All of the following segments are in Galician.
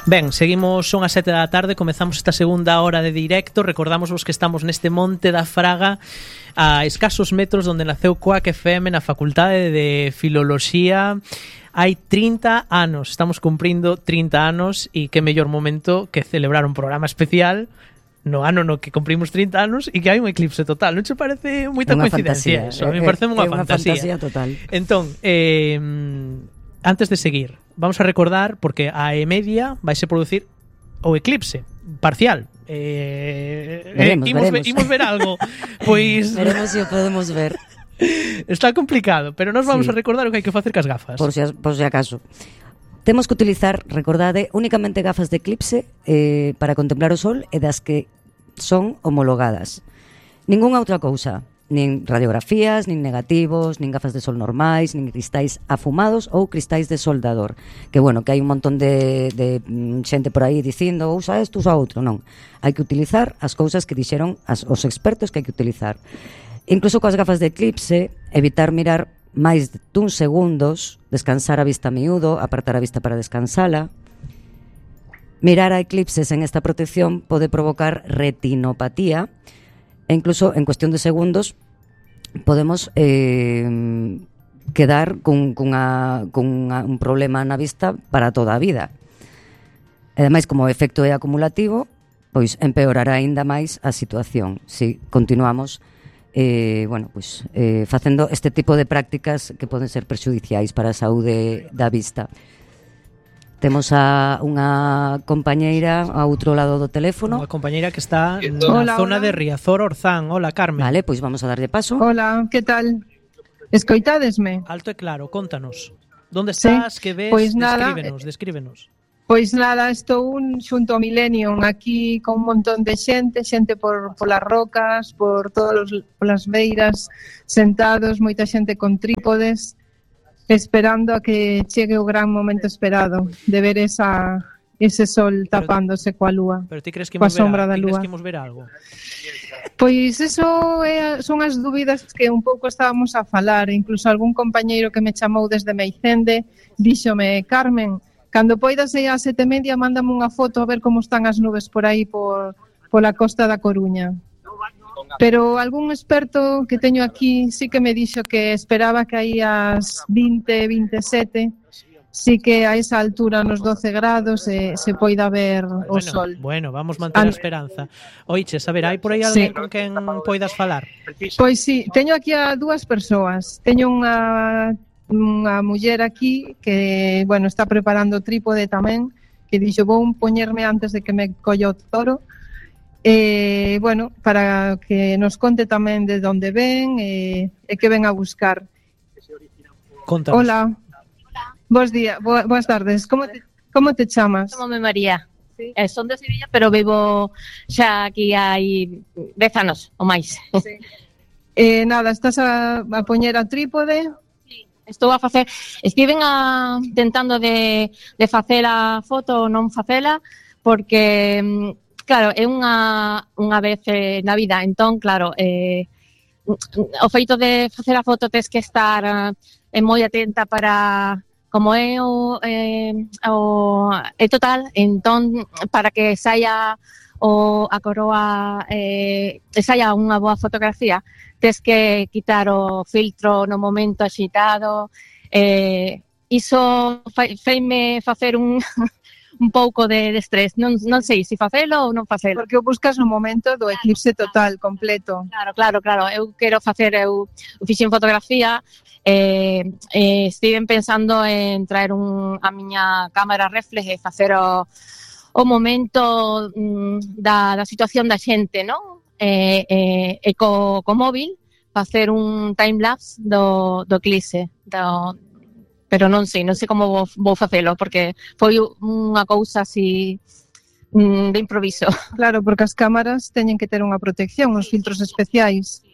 Ben, seguimos, son as 7 da tarde, comezamos esta segunda hora de directo. Recordamos vos que estamos neste Monte da Fraga, a escasos metros donde naceu Coac FM, na Facultade de Filoloxía. Hai 30 anos, estamos cumprindo 30 anos, e que mellor momento que celebrar un programa especial no ano no que cumprimos 30 anos e que hai un eclipse total. Non che parece moita coincidencia? Eso, a mí parece unha fantasía total. Entón, antes de seguir, vamos a recordar, porque a E-Media vaise producir o eclipse parcial. Veremos. Imos ver algo. Pois veremos se o podemos ver. Está complicado, pero nós vamos a recordar o que hai que facer cas gafas. Por si acaso. Temos que utilizar, recordade, únicamente gafas de eclipse para contemplar o sol e das que son homologadas. Ningunha outra cousa, nin radiografías, nin negativos, nin gafas de sol normais, nin cristais afumados ou cristais de soldador. Que bueno, que hai un montón de xente por aí dicindo usa isto, usa outro. Non, hai que utilizar as cousas que dixeron os expertos que hai que utilizar. Incluso coas gafas de eclipse, evitar mirar máis dun segundos, descansar a vista a miúdo, apartar a vista para descansala. Mirar a eclipses en esta protección pode provocar retinopatía e incluso en cuestión de segundos podemos quedar cun un problema na vista para toda a vida. E ademais, como o efecto é acumulativo, pois empeorará aínda máis a situación se continuamos facendo este tipo de prácticas que poden ser perxudiciais para a saúde da vista. Temos a unha compañeira ao outro lado do teléfono. Unha compañeira que está na zona de Riazor, Orzán. Hola, Carmen. Vale, pois vamos a darlle paso. Hola, que tal? Escoitádesme? Alto e claro, contanos. Donde estás, que ves? Pois nada, descríbenos. Pois nada, estou xunto ao Millennium aquí con un montón de xente polas rocas, polas beiras, sentados, moita xente con trípodes, esperando a que chegue o gran momento esperado de ver ese sol tapándose coa lúa. Pero ti crees que imos ver algo? Pois eso son as dúbidas que un pouco estábamos a falar. Incluso algún compañeiro que me chamou desde Meicende díxome: Carmen, cando poidas aí ás 7:30, mándame unha foto a ver como están as nubes por aí pola costa da Coruña. Pero algún experto que teño aquí sí que me dixo que esperaba que aí ás 20, 27, sí que a esa altura, nos 12 grados, se poida ver o sol. Bueno, vamos manter a esperanza. Oiches, a ver, hai por aí alguén con quen poidas falar? Pois sí, teño aquí a dúas persoas. Teño unha muller aquí que, bueno, está preparando o trípode tamén, que dixo, vou poñerme antes de que me colla o toro, bueno, para que nos conte tamén de onde ven e que ven a buscar. Contanos. Hola. Bos días, boas tardes. Como te chamas? Chamome María. Sí. Son de Sevilla, pero vivo xa aquí hai 10 anos ou máis. Sí. Nada, estás a poñer a trípode? Estou a facer, estiven tentando de facer a foto ou non facela, porque, claro, é unha vez na vida, entón, claro, o feito de facer a foto tes que estar moi atenta para, como é é total, entón, para que saia a coroa saia unha boa fotografía, tes que quitar o filtro no momento axitado. Iso feime facer un pouco de estrés. Non sei se facelo ou non facelo. Porque o buscas no momento do eclipse total, completo. Claro. Eu quero facer, eu fixen fotografía, estiven pensando en traer a miña cámara reflex e facer o momento da situación da xente, non? E co móvil facer un timelapse do eclipse, pero non sei como vou facelo, porque foi unha cousa así de improviso. Claro, porque as cámaras teñen que ter unha protección, uns filtros especiais.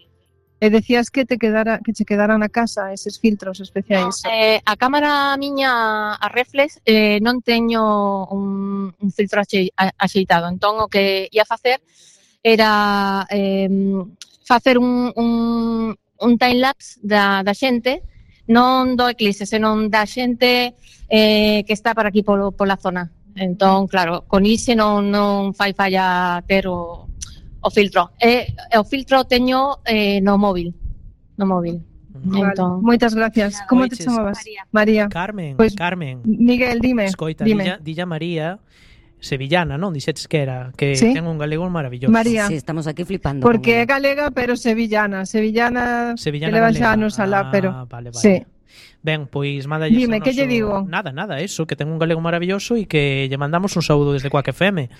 E decías que che quedaran na casa eses filtros especiais. A cámara miña, a reflex, non teño un filtro axeitado. Entón, o que ia facer era facer un timelapse da xente, non do eclipse, senón da xente que está por aquí pola zona. Entón, claro, con iso non fai falla ter o filtro. E o filtro teño no móvil. Vale, Entón, moitas gracias. Como te Oiches, chamabas? María. Carmen, Pois, Carmen. Miguel, dime. Escoita, dime. dilla María, sevillana, non? Dixetes que era, que Sí. ten un galego maravilloso. María. Sí, estamos aquí flipando. Porque é con ela. galega, pero sevillana que leva xa galega. anos alá, pero Vale. sí. Ben, pois mándalles Dime, o que lle noso- digo? Nada, eso, que ten un galego maravilloso e que lle mandamos un saúdo desde Quack FM.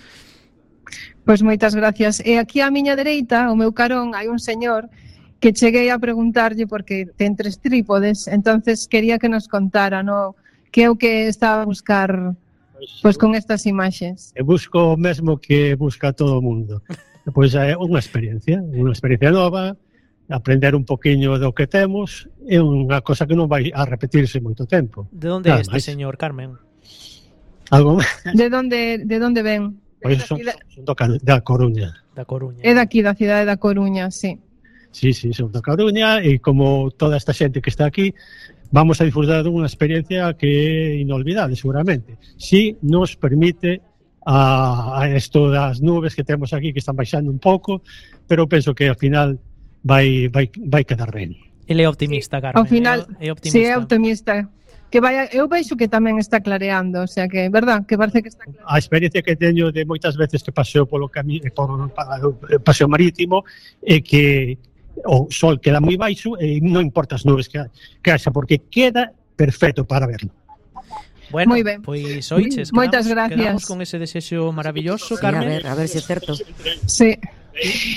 Pois moitas gracias. E aquí á miña dereita, o meu carón, hai un señor que cheguei a preguntarlle porque ten 3 trípodes, entonces quería que nos contara, no, que é o que estaba a buscar pois con estas imaxes. E busco o mesmo que busca todo o mundo. Pois é unha experiencia nova, aprender un poquinho do que temos, é unha cosa que non vai a repetirse moito tempo. De onde é Nada este máis. señor, Carmen? Algo De onde ven? pois son da Coruña. Da Coruña. É daqui, da cidade da Coruña, sí. Sí, son da Coruña e como toda esta xente que está aquí, vamos a disfrutar dunha experiencia que é inolvidable, seguramente. Si nos permite a esto das nubes que temos aquí que están baixando un pouco, pero penso que ao final vai quedar ben. Ele é optimista, Carmen. Ao final, é optimista. sí, é optimista. Que vaya, eu veixo que tamén está clareando, o sea que, verdad, que parece que está clareando. A experiencia que teño de moitas veces que paseo polo paseo marítimo é que o sol queda moi baixo e non importa as nubes que haxa, porque queda perfecto para verlo. Bueno, Moi ben. pois oiches, Moitas gracias. Quedamos con ese desexo maravilloso, Sí, Carmen. a ver se é certo. Sí.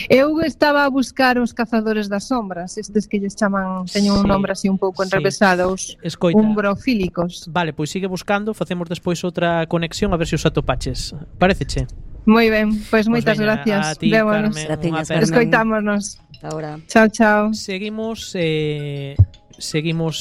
Eu estaba a buscar os cazadores das sombras, estes que lles chaman, teñen un Sí, nombre así un pouco sí. enrevesado, os Escoita. umbrofílicos. Vale, pois sigue buscando, facemos despois outra conexión a ver se os atopaches. Paréceche? Moi ben, pois moitas Pois veña, gracias. a ti, Vémonos. Carmen, Graciñas, unha aperta. Carmen. Escoitámonos. Ahora. Chao, chao. Seguimos